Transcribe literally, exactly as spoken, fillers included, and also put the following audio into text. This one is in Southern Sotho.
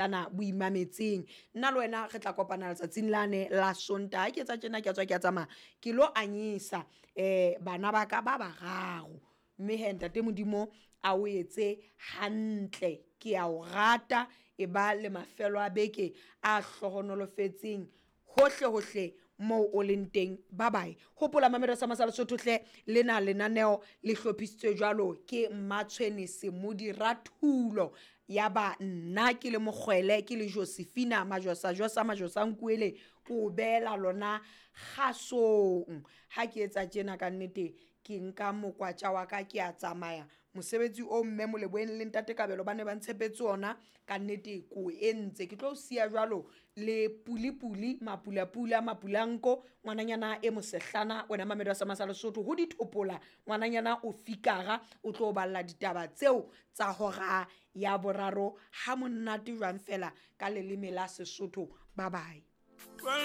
Ana boimametseng nna le wena re tla kopana letsatsing lane la Sontaha. Ke etsa tjena, ke a tswa, ke a tsamaya, ke lo anyesa um bana ba ka ba bararo, mme hee ntate Modimo a o etse hantle. Ke a o rata, e ba le mafelo a beke a hlohonolofetseng hohle hohle moo o leng teng. Bye bye. Hopola mamelo sa masala Sotho hle, lena lenaneo le hlophisitswe jwalo ke Mmatshwene Semodi Rathulo, ya ba nna ke le mokgwele, ke le Josephina Majosajosa Majosankuele, ke o beela lona kgasong. Ha ke etsa tjena ka nnete ke nka mokwatša wa ka, ke a tsamaya. Mosebetsi o mme Moleboheng le ntate Kabelo ba ne ba ntshepetse ona, ka nnete ko entse. Ke tlo siya jwalo le puli-puli, mapula-pula, mapulanko, ngwananyana e mosehlana wena mamedi wa sa masa Lesotho ho dithopola, ngwananyana o fikara o tlo balla ditaba tseo tsa hora ya boraro ha monate jwang fela ka leleme la Sesotho. Bye bye.